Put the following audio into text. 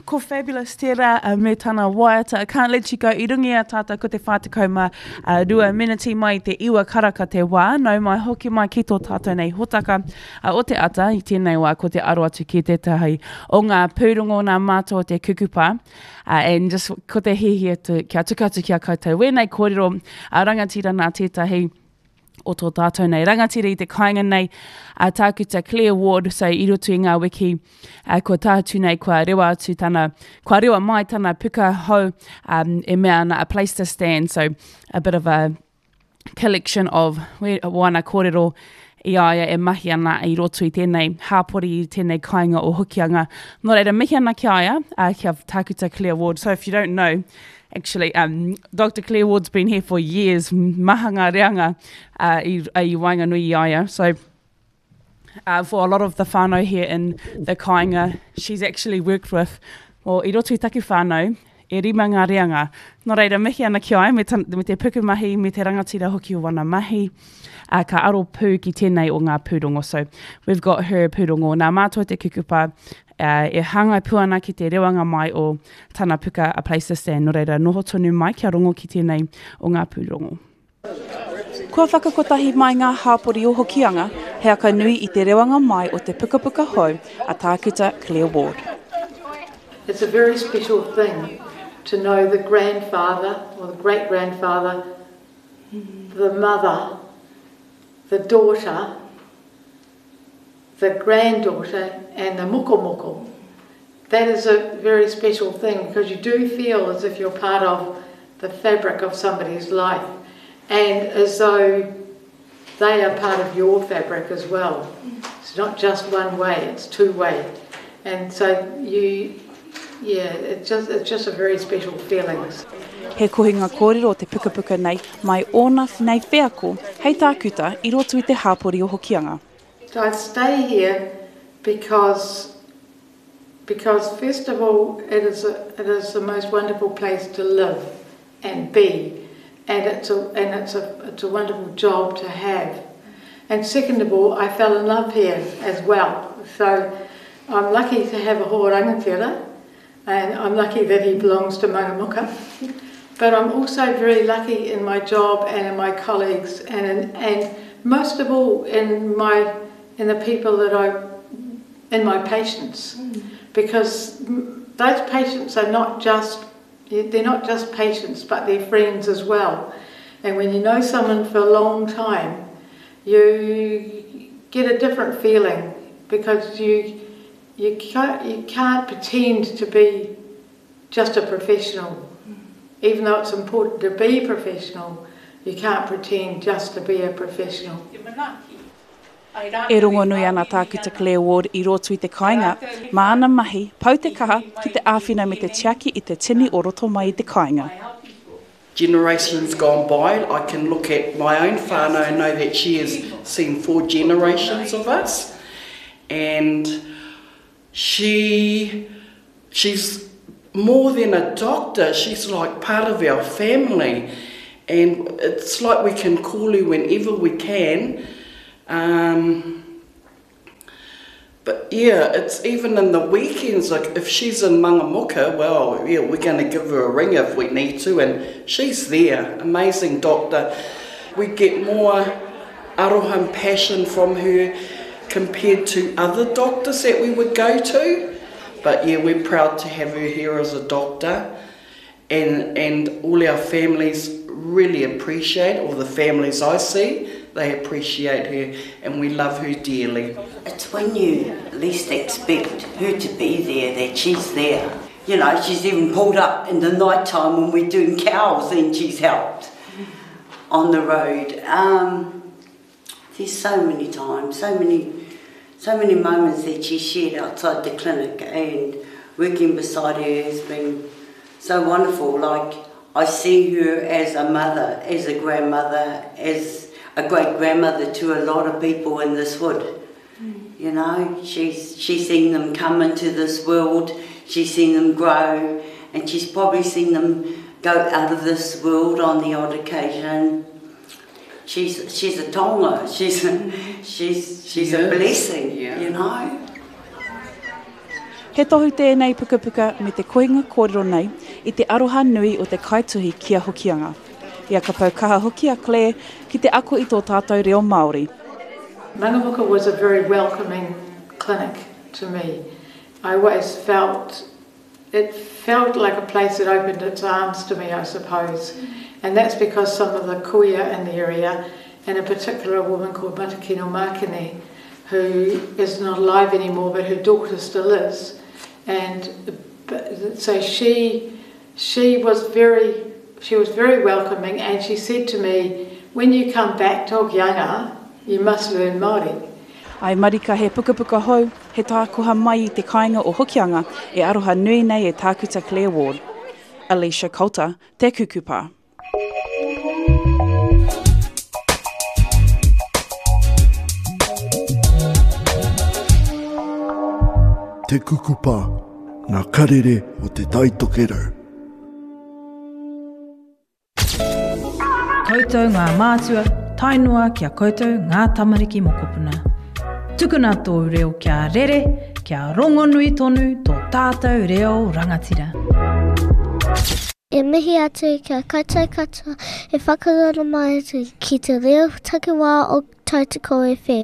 Ko Fabulous tērā me tana waiata I Can't Let You Go i runga i a tātou ko te 42 meneti mai i te 9 karaka te wā. Nau mai hoki mai ki tō tātou nei hotaka o te ata i tēnei wā ko te aro atu ki tētahi o ngā pūrongo nā mātou o te kukupa. And just ko te hiahia kia tuku atu ki a koutou wēnei kōrero a rangatira nā tētahi o tō tātou nei rangatira i te kāinga nei, a Tākuta Claire Ward, so i roto i ngā wiki uh, kua tātu nei, kua rewa atu tana, kua rewa mai tana puka hou um, e mea ana A Place to Stand, so a bit of a collection of wana kōrero i a ia e mahi ana i roto i tēnei hāpori, i tēnei kāinga o Hokianga. Nō reira, mihi ana ki a ia, uh, ki a Tākuta Claire Ward. So if you don't know, Actually, um, Dr. Claire Ward's been here for years, maha ngā reanga uh, i, i waenganui i a ia. So, uh, for a lot of the whānau here in the kāinga, she's actually worked with, well, i roto i taku whānau, e rima ngā reanga. Nō reira, mihi ana ki a ia, me, ta, me te pukumahi, me te rangatira hoki o wana mahi, uh, ka aro pū ki tēnei o ngā pūrongo. So, we've got her pūrongo. Nā mātou te kukupa, ā, e hāngai pū ana ki te rewanga mai o tana puka A Place to Stand, nō reira noho tonu mai kia rongo ki tēnei o ngā pūrongo. Kua whakakotahi mai ngā hāpori o Hokianga he aka nui i te rewanga mai o te pukapuka hou a Tākuta Claire Ward. It's a very special thing to know the grandfather or the great grandfather, the mother, the daughter, the granddaughter and the mokomoko. That is a very special thing because you do feel as if you're part of the fabric of somebody's life and as though they are part of your fabric as well. It's not just one way, it's two way. And so you, yeah, it's just, it's just a very special feeling. He kohinga kōrero te pukapuka nei mai ōna nei wheako hei tākuta i roto i te hāpori o Hokianga. So I stay here because because first of all it is a, it is the most wonderful place to live and be and it's a and it's a it's a wonderful job to have. And second of all, I fell in love here as well. So I'm lucky to have a hoa rangatira and I'm lucky that he belongs to Mangamuka. But I'm also very lucky in my job and in my colleagues and in, and most of all in my in the people that I in my patients mm. because those patients are not just they're not just patients but they're friends as well. And when you know someone for a long time, you get a different feeling because you you can't, you can't pretend to be just a professional. Even though it's important to be professional, you can't pretend just to be a professional. E rongonui ana Tākuta Claire Ward i roto i te kāinga, mā ana mahi, pau te kaha ki te āwhina me te tiaki i te tini o roto mai i te kāinga. Generations gone by, I can look at my own whānau and know that she has seen four generations of us and she she's more than a doctor, she's like part of our family and it's like we can call her whenever we can. Um, but yeah, it's even in the weekends, like if she's in Mangamuka, well, yeah, we're going to give her a ring if we need to, and she's there. Amazing doctor. We get more aroha and passion from her compared to other doctors that we would go to. But yeah, we're proud to have her here as a doctor. And, and all our families really appreciate, all the families I see, they appreciate her and we love her dearly. It's when you least expect her to be there that she's there. You know, she's even pulled up in the night time when we're doing cows and she's helped on the road. Um, there's so many times, so many, so many moments that she shared outside the clinic and working beside her has been so wonderful. Like, I see her as a mother, as a grandmother, as a great grandmother to a lot of people in this wood. Mm. You know, she's, she's seen them come into this world, she's seen them grow, and she's probably seen them go out of this world on the odd occasion. She's, she's a tonga, she's a, she's, she's a blessing, yeah. you know. He tohu tēnei pukapuka me te kohinga kōrero nei i te aroha nui o te kaituhi ki a Hokianga. I a ka pau kaha hoki a Claire ki te ako i tō tātou reo Māori. Mangamuka was a very welcoming clinic to me. I always felt it felt like a place that opened its arms to me, I suppose. And that's because some of the kuia in the area, and in particular a woman called Matakino Makine, who is not alive anymore, but her daughter still is. And so she, she was very, she was very welcoming, and she said to me, when you come back to Hokianga, you must learn Māori. Ai marika he pukapuka hou, he tākoha mai i te kāinga o Hokianga e aroha nui nei e Tākuta Claire Ward. Alicia Coulter, Te Kukupa. Te Kukupa, ngā karere o Te Tai Tokerau. Koutou ngā mātua, tae noa ki a koutou ngā tamariki mokopuna. Tukuna tōu reo kia rere, kia rongonui tonu tō tātou reo rangatira. E mihi atu ki a koutou katoa e whakarara mai atu ki te reo takiwā o Tautoko FM.